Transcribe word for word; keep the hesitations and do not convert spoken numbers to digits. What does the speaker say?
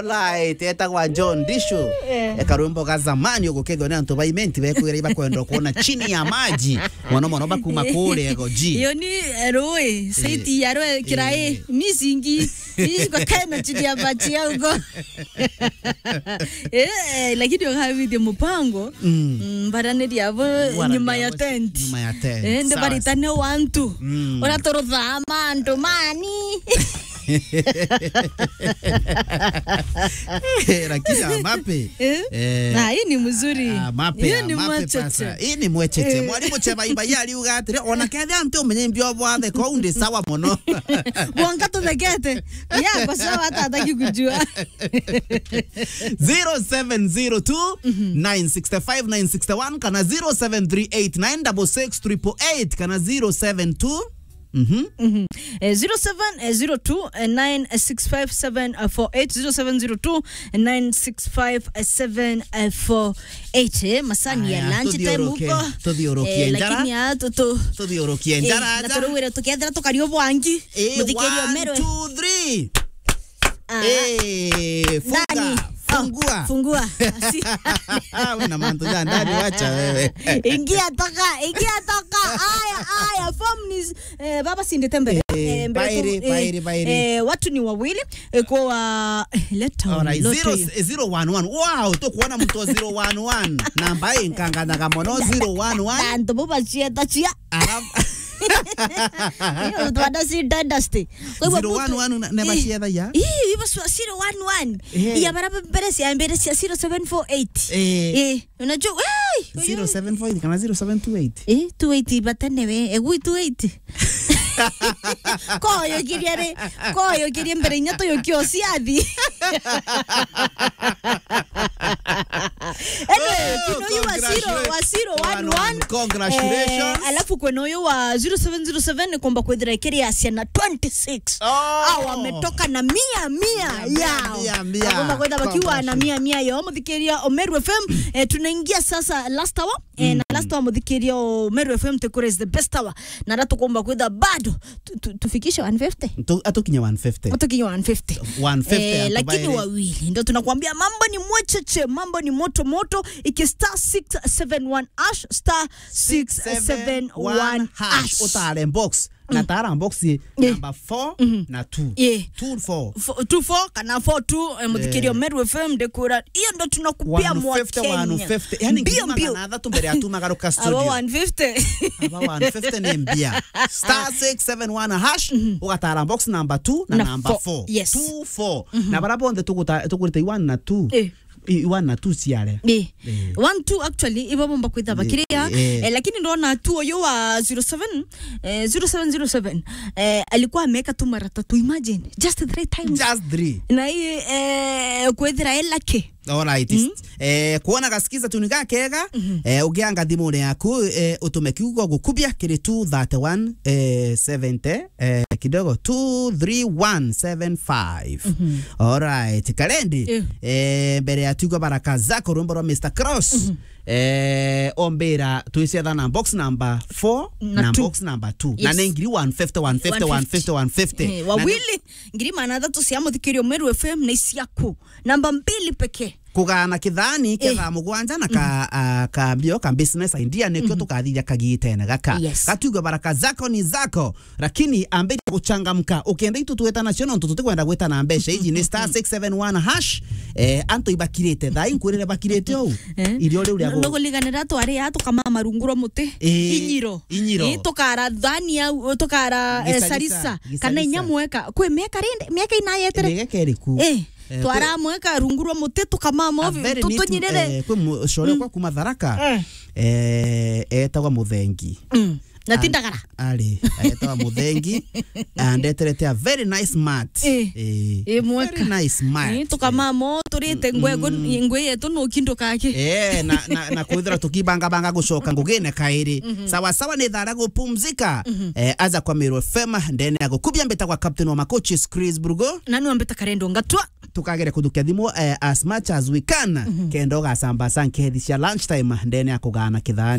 Alright, etagwa John Dishu. Eh. Eka rwimbo ga zamani ugukethwa ni antu ba Imenti bekwira ibakwenda kuona chini ya maji. Mono mono bakuma kule ego ji. Iyo ni, eh, rui, saiti ya rui kirai, eh, misingi, misingi kwa kaina chini ya maji ya ugo. Eh, eh, lakini ukavithi mupango, mm, mm, baraniria abo nyuma ya tent. Nyuma ya tent. Eh, ndi baritane wantu. Mm. Ora torothaa mantu mani. Eh, lakini amape. Eh? Eh. Na hii ni mzuri. Amape, hii ni amape mwacheche. Pasa. Hii ni mwacheche. Eh. Mwalimu Cheba Iba yari uga atiri, ona kethe antu umenye mbio bwathe kou ndi sawa mono. Bwonka tuthekete. Ya, kwa sawa hata hataki kujua. Zero seven zero two, nine six five, nine six one, kana zero seven three eight nine double six triple eight, kana zero seven two. Mhm. Mhm. Eh, zero seven zero two nine six five seven four eight, zero seven zero two nine six five seven four eight. Eh, masani ya lunch time huko. Tuthiurukie njara. Eh, lakini ya tutu. Tuthiurukie njara. Na turuwire tukethira tukario bwangi. Eh, muthikirio one, two, three. Ah. Eh, funga. Nani? Fungua. Oh, fungua. Asi- Una mantu ja ndani, wacha wewe. Ingia toka, ingia toka. Aya, aya, form ni, eh, baba sindite mbere. Eh, eh, mbere bairi, tu, eh, bairi, bairi. Eh, watu ni wawili, eh, kwa, eh, leta. Alright, lotto zero, hiyo. Eh, zero one one. Wow, tukuona mtu wa zero one one. Namba ii nkanganyaga mono, zero one one. Na antu bo bacieta cia. Alafu Iyo twana si dynasty. Kwa hivyo zero one one mtu na, na i-, baciethagia? Ii, ibo swa-, zero one one. Eh. Iya bara mbere cia mbere cia zero seven four eight. Eh. Eh, unajua, hey, zero seven four eight kana zero seven two eight? Eh, two eight batene we. Egu two eight. Koyo kiria ri, koyo kiria mbere inya tuyo kio ciathi. Anyway, oh, kuna uyu wa zero, congratulations, wa zero one one. Congratulations. Eh, alafu kwena uyu wa zero seven zero seven ni komba kwithira ikiri ya ciana twenty six. Oh. Hao wametoka na mia, mia yao. Mia, mia, mia. Komba kwithira bakiwa na mia, mia yao. Muthikiria Omeru F M, eh, tunaingia sasa last hour. Eh, na last hour muthikiria Omeru F M tukure is the best hour. Na ra tukomba kwithira bado tu-, tu-, tufikishe one fifty? Tu-, atukinye one fifty. Atukinye one fifty. One fifty. Eh, lakini wawili. Ndio tunakwambia mambo ni mwecheche, mambo ni moto moto. Iki star six seven one hash, star six seven one hash. Utare box. Na tara box number four na two. Yeah. Two four. Fo-, two four kana four two, eh, muthikiria Meru F M ndikura. Iyo ndo tunakupia mwa Kenya. One fifty, one fifty. Yani, mbio, ngiri magana athatu mbere ya tumagaruka studio. Aba one fifty. Aba one fifty ni mbia. Star six seven one hash, ugatara box number two na number four. Yes. Two four. Na bara bonthe tuguta-, tukurite one na two. Eh. I-, one na two ciare. Eh. Eh. One two actually, ibo bomba kwitha bakiria. Eh, eh. Eh, lakini ndona tu uyu wa zero seven, eh, zero seven zero seven, eh, alikuwa ameweka tu mara tatu. Imagine, just three times. Just three. Na hii, eh, kwithira e lucky. Alright. Eh, kuona gasikiza tuni gakega, eh, ugianga thimune yaku, eh, utume kiugo gukubia kiri two thirty-one, eh, seventy, eh, kidogo, two three one seven five. Alright, Kalendi, eh, mbere ya tugo baraka zako rwimbo rwa Mister Cross, eh, ombira twiciatha na box number four na box number two. Na ni ngiri one fifty, one fifty, one fifty, one fifty. Eh, wawili. Ngiri magana athatu cia muthikirio Meru F M na isiaku. Namba mbili pekee. Kugana kithani kia thaa mugwanja na ka, ah, ka mbio ka business idea nikio tukathithia kagitene gaka. Yes. Gatugo baraka zako ni zako, lakini ambiria guchangamka. Ukenda itu tweta nacio nontu tutikwenda gwita na mbeca iji ni star six seven one hash. Eh, antu ibakirite, thaa inkwirire bakirite ou. Eh? Irio riu ria gu- Nuguliganira twari a tukamama rungu rwa muti. Eh, inyiro. Inyiro. Eh, tukara thani au, tukara, eh, sarisa. Gisarisa. Kana inya mweka. Kwi miaka rindi, miaka inayetere. Miaka iriku? Eh, eh, twaramweka rungu rwa muti tukamama ovi, tutunyirire. Eh, kwi mucore kwa kuma Tharaka. Eh, etagwa Muthengi. Mm. Na ti ndagara. Ari, etagwa Muthengi. Andeterete a very nice mat. Eh. Eh, mweka. Very nice mat. Eh, tukamama turite ngwe, ngwe yetu no kindo kake. Eh, na, na, na kwithira tukibanga banga gucoka ngugine kairi. Sawa sawa ni thara gupumzika. Eh, aja kwa Meru F M, ndene ya gukubia mbita kwa captain wa makochi Chris Brugo. Na niwe mbita Karendo Ngatwa. Tukagere kuthukia thimu, eh, as much as we can. Kenda ugasamba sa nkethi cia lunch time, ndene ya kugana kithani.